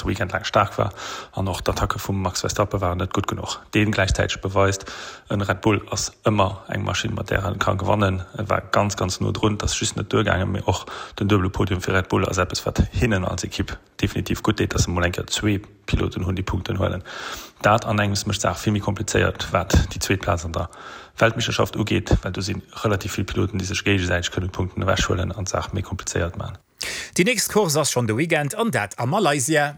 ganze Weekend laang staark war an och d'Attacke vum Max Verstappen waren net gutt genuch. Deen gläichzäiteg beweist, en Red Bull ass ëmmer eng Maschinn mat där en ka gewannen. E war ganz ganz no drun, et ass just net duergaangen, mee och den duebele Podium fir Red Bull ass eppes wat hinnen als Ekipp definitiv gutt deet, dass se mol eng Kéier zwee Piloten hunn déi Punkten huelen. Dat an engems mécht d'Saach vill méi komplizéiert wat déi zweet Plaz an der Weltmeeschterschaft ugeet, well do si relativ vill Piloten déi sech géigesäiteg kënnen Punkten ewechhuelen an d'Saach méi komplizéiert maachen. Déi nächst Course ass schonn de Weekend an dat a Malaysia.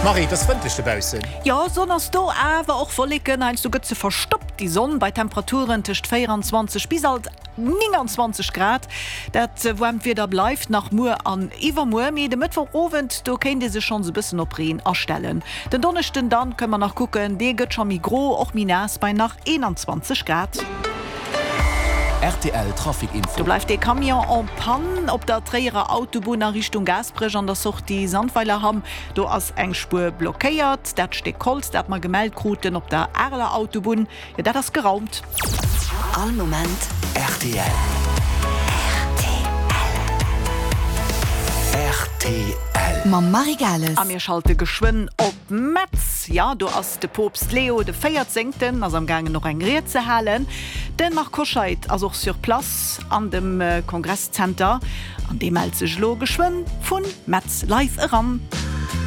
Marie, et ass frëndlech dobaussen. Jo, Sonn ass do, awer och Wolleken. Heiansdo gëtt se verstoppt, déi Sonn, bei Temperaturen tëscht 24 bis alt 29 Grad. Dat waarmt Wieder bleift nach muer an iwwermuer, mee de Mëttwochowend, do kéint ee sech schonns e bëssen op Reen astellen. Den Donneschden dann kënne mer nach kucken, dee gëtt scho méi gro, och méi naass bei nach 21 Grad. Rtl Trafic Info. Do bleift ee Camion en panne op der Tréierer Autobunn a Richtung Gaasperech an der Sortie Sandweilerhamm. Do ass eng Spuer blockéiert. Dat Stéck Holz, dat mer gemellt kruten op der Areler Autobunn, jo dat ass geraumt. All Moment rtl. Rtl. Mam Marie Gales. A mir schalte geschwënn op Metz. Jo, do ass de Poopst Leo de Véierzéngten ass am gaangen och eng Ried ze halen. De Marc Hoscheid ass och sur place an dem Kongresszenter an dee mellt sech elo geschwënn vu Metz live eran.